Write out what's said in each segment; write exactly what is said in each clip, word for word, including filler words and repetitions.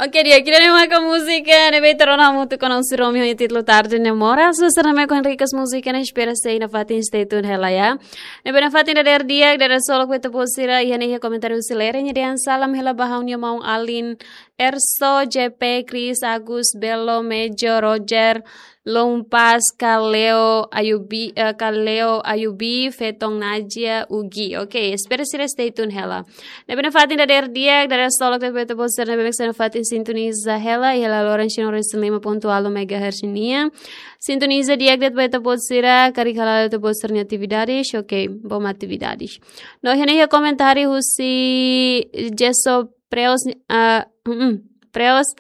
Oke, di'ak, ida-ne'e maka múzika ne'ebé ita rona hamutuk ho Nonsi Romi ho nia títulu Tarde Ne'e Moras. Susar na me kon rikas múzika ne'e, espera sei nafatin, stay tune hela ya. Ne'ebé nafatin dadeer di'ak, dadeer solok ba ita-boot sira, iha ne'e iha komentáriu husi Lere, nia dehan salam hela ba ha'u-nia maun alin Erso, J P, Chris, Agus, Belo, Mejo, Roger, Lumpas, Kaleo, Ayubi, eh, Kaleo, Ayubi, Feton, Najia, Ugi. Oke, espera sira stay tune hela. Ne'ebé nafatin dadeer di'ak, dadeer solok ba ita-boot sira ne'ebé mak sei nafatin sintoniza hela, iha laloran cien resin lima ponto ualu megahertz nian. Sintoniza di'ak de'it ba ita-boot sira, karik hala'o ita-boot sira-nia atividades, oke, bom atividades. No, iha ne'e iha komentáriu husi Jeso Preos, ah, mm, Preos,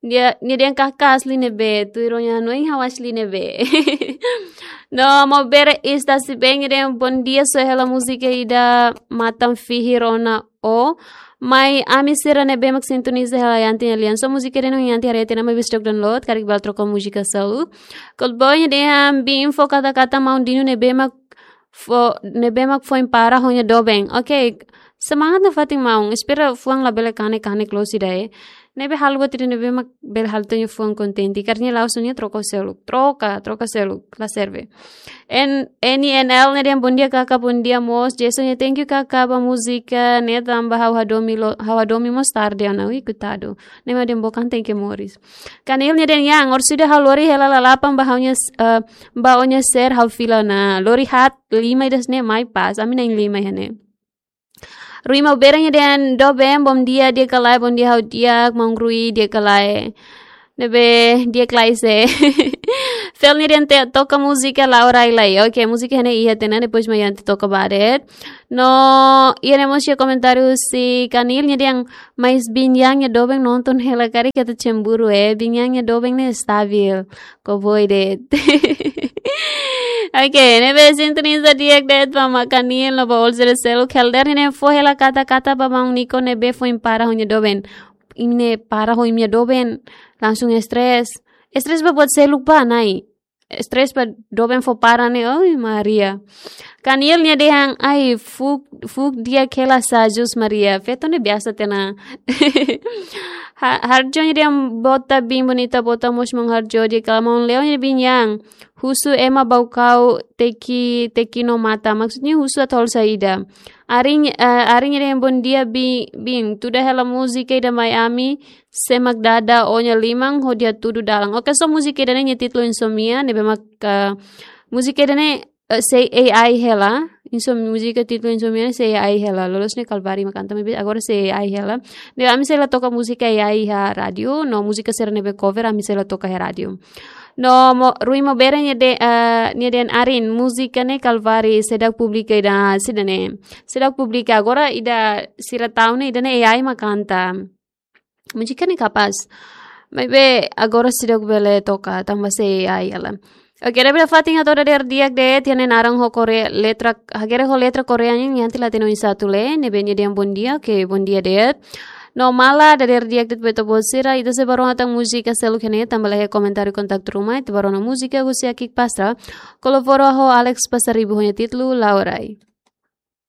nia, nia dehan karik asli ne'ebé, tuir ó-nia hanoin ha'u asli ne'ebé. No, Maubere Istasibeng, nia dehan bom dia, só hela múzika ida Matan Fihir ona ó. Mai ami sira ne'ebé mak sintoniza hela Yanti nia lian. Só múzika ida-ne'e Yanti haree tiha ona, maibé stok download, karik bele troka múzika seluk. Cold Boy, nia dehan biin fó kata-kata maun Dino ne'ebé mak fó, ne'ebé mak foin para ho nia doben. Oke, semangat nafatin maun. Espera fuan labele kanek-kanek loos ida, eh. Ne'ebé halo buat ida ne'ebé mak bele halo tiha nia fuan kontente. Karik nia la'ós, nia troka seluk. Troka, troka seluk. La serve. En, N N L nia dehan bom dia karik, bom dia mós. Jason nia thank you karik ba múzika ne'e tanba ha'u hadomi lo, ha'u hadomi mós tarde ona. Ui, koitadu. Ne'e mak dehan bukan tenke moris. Kanil nia dehan yang, orsida ha'u lori hela lalapan ba ha'u-nia s-, eh, ba ó-nia série ha'u fila ona. Lori haat lima ida-ne'e mai pas. Ami na'in-lima iha ne'e. Rui Maubere nia dehan doben, bom dia, di'ak ka lae, bom dia ha'u di'ak, maun Rui, di'ak ka lae. Ne'ebé di'ak ka lae sé. Fel nia dehan te-, toka múzika Laura Ilai. Oke, múzika ne'e iha tiha ona, depois mai Yanti toka ba de'it. No, iha ne'e mós iha komentáriu husi Kanil nia dehan, mais biin Yang nia doben nonton hela karik ita cemburu, eh. Biin Yang nia doben ne'e stabil. Ko boi de'it. Oke, ne'ebé sintoniza di'ak de'it ba maun Kanil no ba all sira seluk. Helder nia dehan fó hela kata-kata ba maun Niko ne'ebé foin para ho nia doben. Imi ne'e para ho imi-nia doben, langsung stres. Stres ba buat seluk ba, Nai. Stres ba doben fó para ne'e, oi Maria. Kanil nia dehan, ai, fuuk, fuuk di'ak hela sajus Maria. Feto ne'e biasa tiha ona. Ha-, Harjo nia dehan bota biin bonita, bota mós maun Harjo, di'ak ka lae maun Leo nia dehan biin Yang. Husu ema bau kau teki, teki no mata. Maksudnya husu atu halo saida. Arin, eh, Arin nia dehan bom dia bi-, biin. Tuda hela múzika ida mai ami, sé mak dada ó-nia liman hodi hatudu dalan. Oke, só múzika ida-ne'e nia títulu Insomnia, ne'ebé mak, eh, múzika ida-ne'e, eh, sei A I hela. Insom-, múzika títulu Insomnia ne'e sei A I hela. Loloos ne'e Kalvari mak kanta, maibé agora sei A I hela. Ne'ebé ami sei la toka múzika A I iha rádiu, no múzika sira ne'ebé cover ami sei la toka iha rádiu. No mo-, Rui Maubere nia de-, eh, nia dehan Arin, múzika ne'e Kalvari, seidauk publika ida, sira-ne'e. Seidauk publika agora ida sira tau ne'e, ida-ne'e A I mak kanta. Múzika ne'e kapás. Maibé agora seidauk bele toka, tanba sei A I hela. Oke, dadeer fatin atu dadeer di'ak de'it, iha ne'e naran ho Korea, letra, hakerek ho letra Korea nian, Yanti la hatene oinsá atu lee, ne'ebé nia dehan bom dia, oke, bom dia de'it. No maibé dadeer di'ak de'it ba ita-boot sira, ita sei bá rona tan múzika seluk iha ne'e, tanba la iha komentáriu kontaktu ruma, ita bá rona múzika husi Akik Pastra, kolaboradu ho Alex Pasaribu ho nia títulu Laurai.